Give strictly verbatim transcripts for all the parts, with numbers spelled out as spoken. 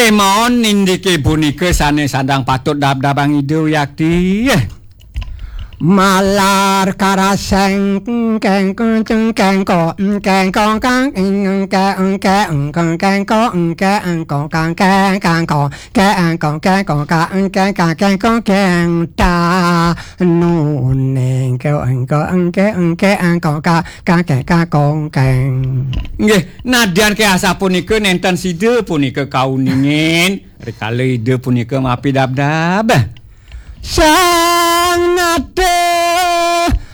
Maon indike punika sane sandang patut dabdabang Ida Wiakti. Malar karaseng kengkong kengko kengkong kang engke engke engkong kengko engke engkong kang keng kangko kengkong kengko ka engke ka kengko keng ta nuning ke engko engke engke engko ka ka ke ka kong keng. Nggih, nadyan ke asapunika nenten sida punika kauningin rikala Ida punika mapidabdab. Sang nata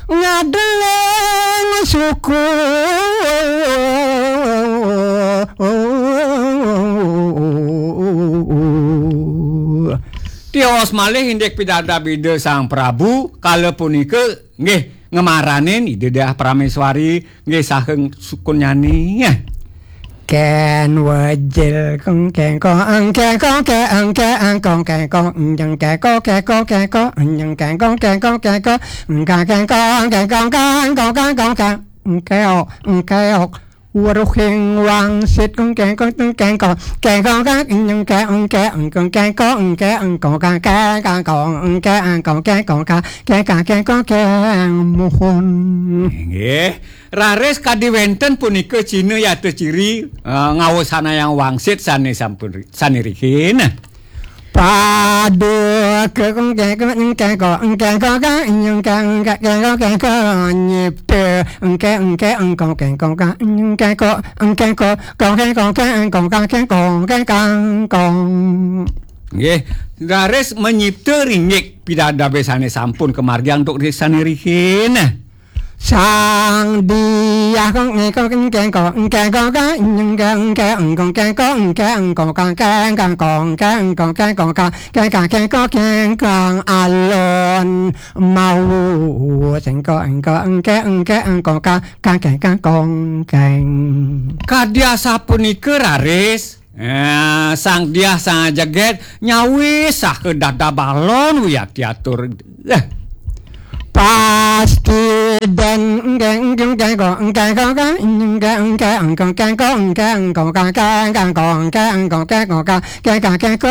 ngadeling suku. Tios malih indik pidabdab Ida Sang Prabu kala punika nggih ngemaranin Ida Diah Prameswari nggih saha sukunyane. Ken wejil kong kengko engkeko ke engke engkong kengko enjeng keko keko keko enjeng kengko keko keko engka kengko kengko kangko kangko kang engkeok engkeok weruhing wangsit kong kengko kengko kengko kang enjeng ke engke engkong kengko engke engkong kang ke kangkong engke engkong kengko ka ke ka kengko keng muhun. Nggih. Raris kadi wenten punika cina yata ciri, eh, ngawasanayang wangsit sane sampun ri-, sane rihin. Paduka engke engke engke engke engke engke engke engke engke nyipta engke engke engkong kengkong ka engke ko engke ko kong kengkong kengkong ka kengkong kengkang kong. Nggih, raris menyipta ringgik pidadabe sane sampun kamargiang untuk ri-, sane rihin. Sang Diah kong engkong engkong engkong ka engke engke engkong kengkong engke engkong kang keng kang kong keng kong keng kong kang keng kang keng kong keng kang alon mau sengko engko engke engke engkong kang kang keng kang kong keng. Kadi asapunika raris, eh, Sang Diah Sang Jeget nyawis saha dada balon wiakti atur. Eh. Pasti den engke engke engke ko engke ko ka engke engke engko engke engko ka ka ka ko engke engko ke ko ka ke ka ke ko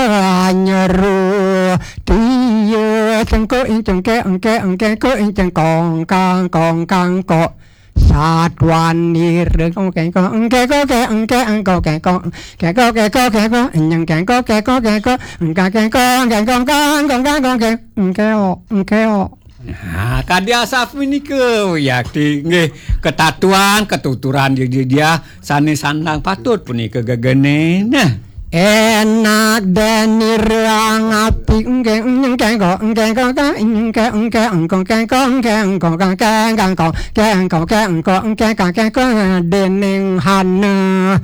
nyeru tia sengko inceng ke engke engke ko inceng kong kang kong kang ko satuan nira kong ke ko engke ko ke engke engko ke ko ke ko ke ko ke ko enyeng ke ko ke ko ke ko engka ke ko ke ko kang kong kang kong ke engke o engke o. Nah, kadi asapunika wiakti nggih ketatuan ketuturan Ida Diah sane sandang patut punika gegene. Nah. Enak deni ruang api engke engke ko engke ko ka engke engke engko ke ko engke engko ka ke ka ko ke engko ke engko engke ka ke ko dening hana.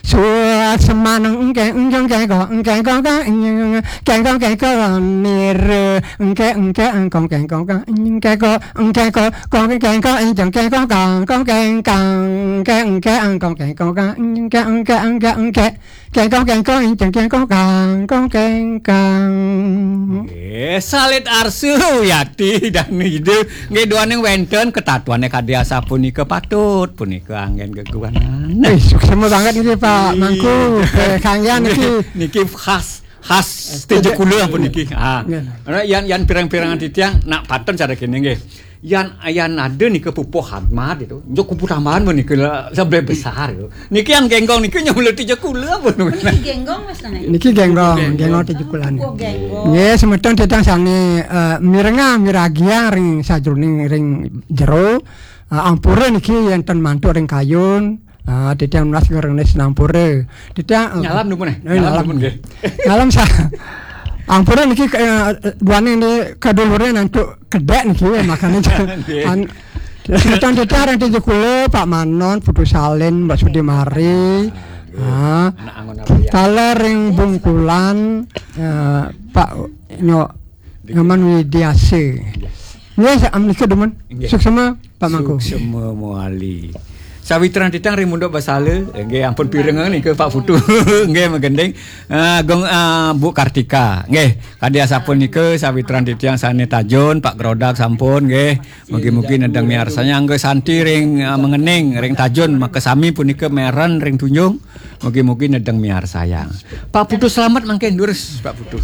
Suasemaning engke engke engke ko engke ko ka engke engke engko ke ko nira engke engke engko ke ko ka engke ko engke ko ko ke ko engke ko ka ko ke ka ke engke engko ke ko ka engke engke engke engke ke ko ke ko engke ke ko ka ko ke ka. Eh, salit arsu yati dan ide nggih duaning wenten ketatuane kadi asapunika patut punika anggen geguanan. Eh, suksma banget niki Pak Mangku. Eh, kanggian niki. Niki khas khas Tejakula puniki. Ah. Nggih. Ora yan yan pirang-pirangan titiang nak patun cara kene nggih. Yan yan ada nika pupuh hadmat itu. Njuk kupu tambahan menika le-, lebih besar itu. Niki yang genggong niki nyamula Tejakula pun. Niki genggong Mas Nana. Niki genggong, genggong Tejakula. Oh, genggong. Nggih, semeton titiang sane, eh, mirengang miragiang ring sajroning ring jero. Eh, ampura niki enten mantuk ring kayun. Ah, titiang nunas ngerenes nampura. Titiang, eh, nyalam dumun, eh? Eh, nyalam nyalam. Dumun, nggih. Nyalam sa-, ampura niki, eh, duane ni kedulure nantuk kedek niki, makane nggih. An-, titiang-titiang ring Tejakula, Pak Manon, Putu Salin, Mbak Sudimari. Nggih. Ah. Anak angon apa ya? Kala ring Bungkulan, eh, Pak Nyok Nyoman Widiase. Nggih. Nggih, sa-, menika dumun. Nggih. Suksma, Pak Mangku. Suksma mawali. Sawitran titiang ring Munduk Basala, nggih ampun pirengang nika Pak Putu. Nggih magending. Ah, Gung, ah, Bu Kartika. Nggih, kadi asapunika sawitran titiang sané tajun, Pak Grodak sampun nggih. Mugi-mugi nedeng miarsayang nggih Santi ring, ah, Mengening, ring tajun makasami punika Meren ring Tunjung. Mugi-mugi nedeng miarsayang. Pak Putu selamat mangkin durus Pak Putu.